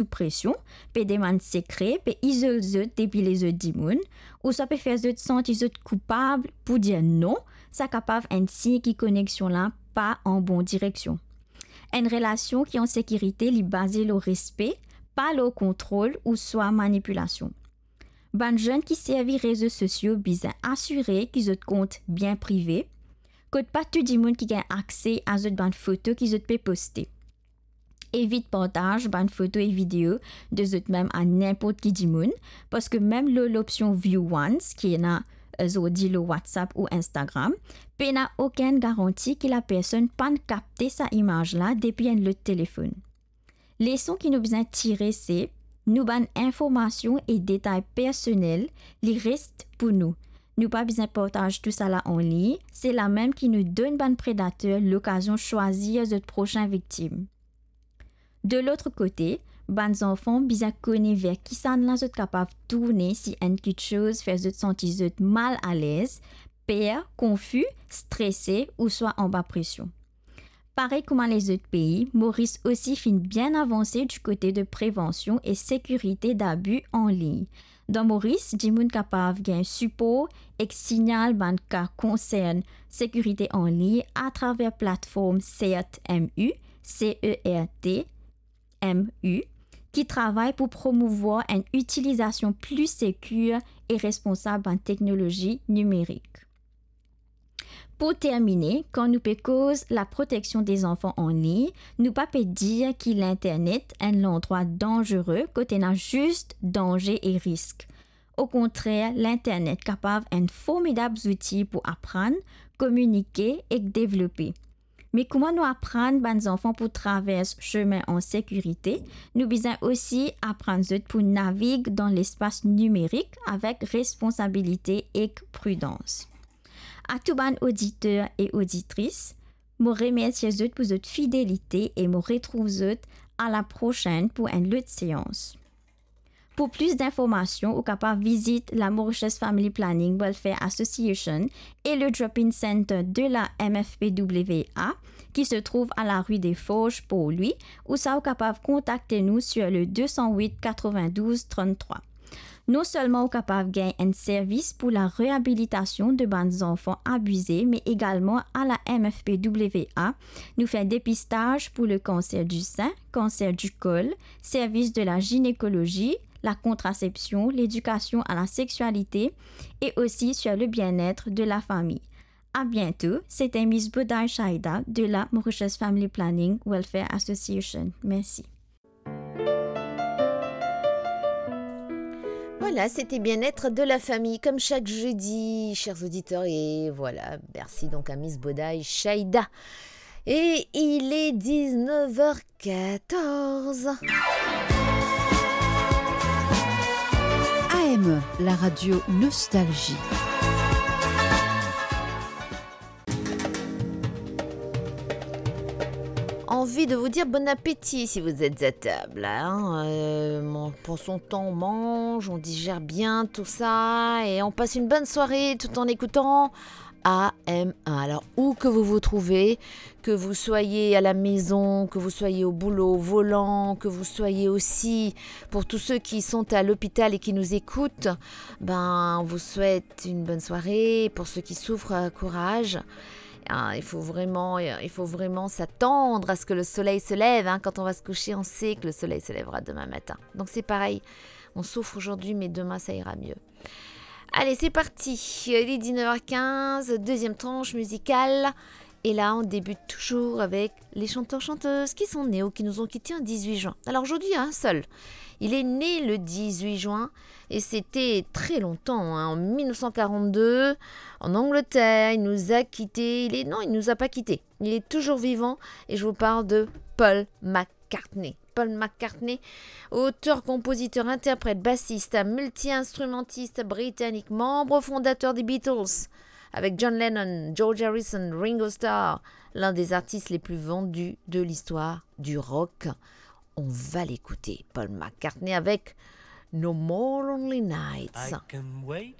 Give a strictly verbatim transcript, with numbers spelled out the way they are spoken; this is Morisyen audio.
sou presion, pe demann sekre, pe izol zot depi lezot dimoun, ouswa pe fer zot santi zot koupab pou dir non, sa kapav enn sign ki koneksion la pa an bon direksion. Enn relasion ki an sekirite, li baze lor respe, pa lor kontrol ouswa manipilasion. Bann zenn ki servi rezo sosio bizin asire ki zot kont bien prive, kot pa tou dimoun ki gagn akse a zot bann foto ki zot pe poste. Evit partaz bann foto e video de zot mem a ninport ki dimoun, parski mem lor lopsion View Once, ki ena, eh, zordi lor WhatsApp ou Instagram, pena okenn garanti ki lapersonn pa'nn kapte sa imaz la depi enn lot telefonn. Leson ki nou bizin tire se, nou bann informasion e detay personel, li res pou nou. Nou pa bizin partaz tousala anlign, se la mem ki nou donn bann predater lokazion swazir zot prosin viktim. De lot kote, bann zanfan bizin kone ver kisannla zot kapav tourne si enn kiksoz fer zot santi zot mal alez, per, konfi, strese ouswa anba presion. Parey kouma lezot pei, Moris osi finn bien avanse di kote de prevansion e sekirite dabi anlign. Dan Moris, dimoun kapav gagn sipor ek signal bann ka konsern sekirite anlign atraver platform CERT MU, C E R T M U, ki travay pou promouvwar enn itilizasion pli sekir e responsab bann teknolozi nimerik. Pou termine, kan nou pe koz laproteksion de zanfan anlign, nou pa pe dir ki linternet enn landrwa danzere kot ena zis danze e risk. Okontrer, linternet kapav enn formidab zouti pou aprann, kominike ek devlope. Me kouma nou aprann bann zanfan pou travers sime an sekirite, nou bizin osi aprann zot pou navig dan lespas nimerik avek responsabilite ek pridans. A tou bann oditer e oditris, mo remersie zot pou zot fidelite e mo retrouv zot a la prosenn pou enn lot seans. Pou plis dinformasion, ou kapav vizit la Mauritius Family Planning Welfare Association e le Drop-in Center de la M F P W A, ki se trouv a la rue des Forges, Port-Louis, ouswa ou kapav kontakte nou sur le deux cent huit quatre-vingt-douze trente-trois. Non selman ou kapav gagn enn servis pou la reabilitasion de bann zanfan abize, me egalman a la M F P W A, nou fer depistaz pou le kanser di sin, kanser di kol, servis de la zinekolozi, la kontrasepsion, ledikasion a la seksialite e osi sur le bien-être de la famille. À bientôt, c'était Miss Boday Shaida de la Mauritius Family Planning Welfare Association. Merci. Voilà, c'était Bien-être de la famille, comme chaque jeudi, chers auditeurs. Et voilà, merci donc à Miss Boday Shaida. Et il est dix-neuf heures quatorze. A M, la radio Nostalgie. Envie de vous dire bon appétit si vous êtes à table, hein. Euh, on prend son temps, on mange, on digère bien tout ça et on passe une bonne soirée tout en écoutant A M un. Alors, où que vous vous trouvez, que vous soyez à la maison, que vous soyez au boulot, au volant, que vous soyez aussi, pour tous ceux qui sont à l'hôpital et qui nous écoutent, ben, on vous souhaite une bonne soirée. Pour ceux qui souffrent, euh, courage. Ah, il faut vraiment, il faut vraiment s'attendre à ce que le soleil se lève, hein. Quand on va se coucher, on sait que le soleil se lèvera demain matin. Donc c'est pareil, on souffre aujourd'hui, mais demain ça ira mieux. Allez, c'est parti. Il est dix-neuf heures quinze, deuxième tranche musicale. Et là, on débute toujours avec les chanteurs-chanteuses qui sont nés ou qui nous ont quittés en dix-huit juin. Alors aujourd'hui, il y a un seul. Il est né le dix-huit juin et c'était très longtemps, hein, en mille neuf cent quarante-deux, en Angleterre. Il nous a quittés. Il est, non, il nous a pas quittés. Il est toujours vivant et je vous parle de Paul McCartney. Paul McCartney, auteur, compositeur, interprète, bassiste, multi-instrumentiste britannique, membre fondateur des Beatles, avec John Lennon, George Harrison, Ringo Starr, l'un des artistes les plus vendus de l'histoire du rock. On va l'écouter, Paul McCartney avec No More Lonely Nights. I can wait